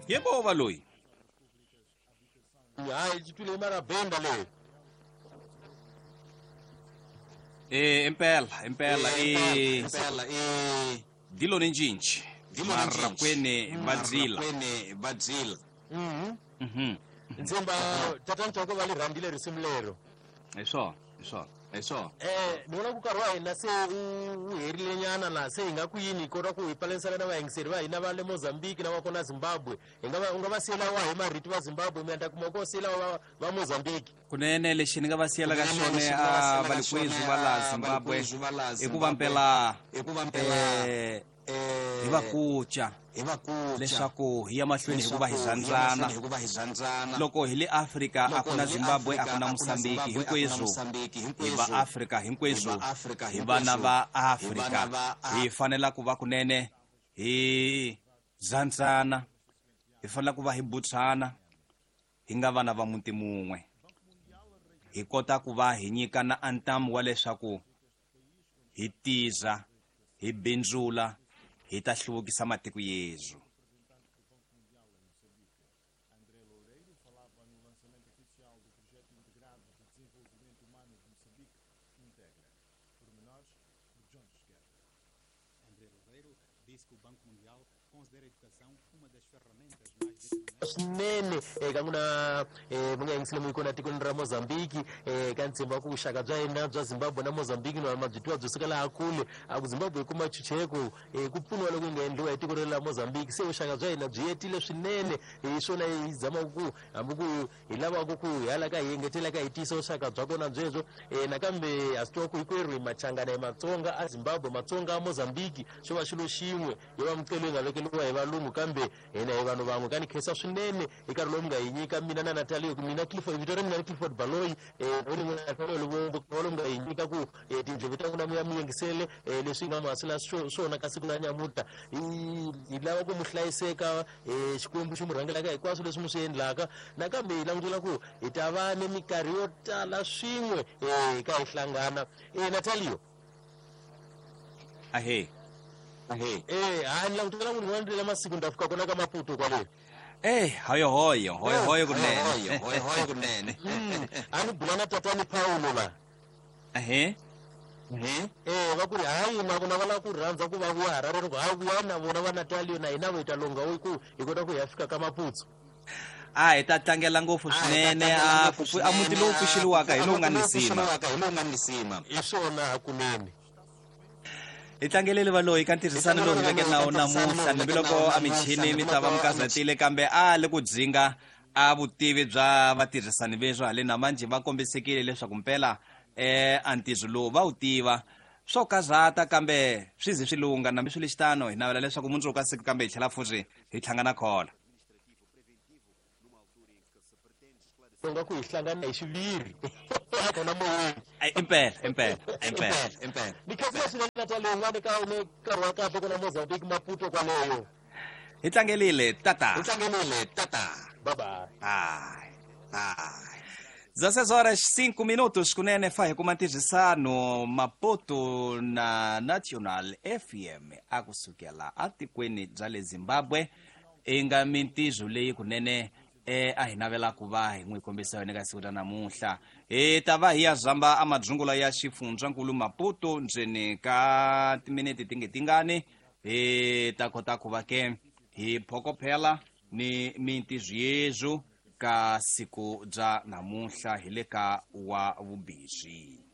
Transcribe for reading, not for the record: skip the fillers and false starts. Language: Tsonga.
Yebo valoyi. Hayi xi twile mara benda leyi. Eh impela impela eh Impela eh dilo ni cinci. Dilo ni cinci. Marakwene va dzila. Marakwene va dzila. Mhm. Ntshemba tatana Chauke va li rhandzile risimu lero. Hi swona, hi swona. Hi swona. Ni vona ku nkarhi wa hina se wu herile nyana laha se hi nga ku yini hi kota ku hi pfalerisana na vayingiseri va hina va le Mozambique na va kona Zimbabwe. Hi nga va u nga va siyela wahi marito va Zimbabwe mi ta kuma ko siyela va Mozambique. Kunene lexi ni nga va siyelaka Kunene xona lexi ni nga va a siyelaka valikwezu xona, va laha a Zimbabwe valikwezu va laha i ku va Zimbabwe, mpela i ku va mpela, hi va kuca hi va kuca leswaku hi ya mahlweni hi ku va hi leswaku hi ya rhandzana. mahlweni hi ku va hi rhandzana. Loko hi le Afrika a Loko ku na hi le Zimbabwe a Afrika, ku na a ku na Mozambique Zimbabwe, a ku na hinkweswo Mozambique, hi va hinkweswo. Afrika hinkweswo Hi va Afrika hi vana va hinkweswo. Hi Afrika vana va hi fanela ku va kunene hi rhandzana hi fanela ku va hi butsana hi nga vana va muti mun'we hi kota ku va hi nyikana antamu wa leswaku hi tiza hi bindzula hi ta hluvukisa matiko yezu. André Loureiro falava no lançamento oficial do projeto integrado de desenvolvimento humano de Moçambique, Integra. Pormenores por Jones Guerra. André Loureiro disse que o Banco Mundial considera a educação uma das ferramentas mais determinantes. Swinene eka n'wina mi nga yingisile mu yi kona tikweni ra Mozambique ka ntshembo wa ku vuxaka bya hina bya Zimbabwe na Mozambique na ma byi twiwa byi suka laha kule a ku Zimbabwe yi kuma chucheko ku pfuniwa loko yi nga endliwa hi tiko rero la Mozambique se vuxaka bya hina byi yetile swinene hi swona hi zamaka ku hambi ku hi lavaka ku hi hala ka hi engetela ka hi tiyisa vuxaka bya kona byebyo nakambe ha swi tiva ku hinkwerhu hi Machangana hi Matsonga a Zimbabwe Matsonga a Mozambique xo va xilo xin'we yo va micelo yi nga vekeliwa hi valungu kambe hina hi vanhu van'we ka ni khensa swinene hi nkarhi lowu mi nga hi nyika mina na Natalia ku mina Clifford vito ra mina ni Clifford Baloyi Luvumbu lowu mi nga hi nyika ku tindleve ta n'wina mi ya mi yingisele leswi nga mi hasela swona ka siku la nyamuta hi lava ku mi hlayiseka Xikwembu xi mi rhangelaka hinkwaswo leswi mi swi endlaka nakambe hi langutela ku hi ta va ni minkarhi yo tala swin'we ka hi hlangana Natalio. Ahe. Ahe. Ha ni langutela ku rin'wana lela masiku ni ta fika kona ka Maputo kwale. Eh hoyo hoyo hoyo hoyo kunene. Hoyo hoyo hoyo kunene. A ni bula na tatani Paulo la. Ahe. Va ku ri hayi na vona va lava ku rhandza ku va vuya Harare ni ku ha vuya na vona va Natalio na hina vo hi ta longa ku hi kota ku hi ya fika ka Maputo. A hi ta tlangela ngopfu swinene a ku a muti lowu pfuxeliwaka hi lowu nga ni sima. Hi lowu nga ni sima. Hi swona hakunene. Hi tlangelele valoyi ka ntirhisano lowu hi veke na wona namuntlha hambiloko a michini mi ta va mi kazatile kambe a le ku dzinga a vutivi bya vatirhisani veswo haleni na manjhe va kombisekile leswaku mpela a ntirho lowu va wu tiva swo kazata kambe swi ze swi lunga nambi swi le xitano hi navela leswaku mundzuku ka siku kambe hi tlhela futhi hi hlangana khola. Nga ku hi hlangana hi xiviri kona moyeni. Impela impela impela impela. Ni khensile swinene Natalia un'wana ka ni nkarhi wa kahle kona Mozambique Maputo kwaleyo. Hi tlangelile tata. Hi tlangelile tata. Bye bye. Bye. Bye. 16 horas 5 minutos kunene fa hi kuma ntirhisano Maputo na National FM a kusukela atikweni bya le Zimbabwe i nga mintirho leyi kunene a hi navela ku va hi n'wi kombisa yona eka siku ra namuntlha hi ta va hi ya zamba a madzungula ya xifundzankulu Maputo ndzeni ka timinete ti nge tingani hi ta kota ku va ke hi phokophela ni mintirho yezwo ka siku bya namuntlha hi le ka wa vumbirhi.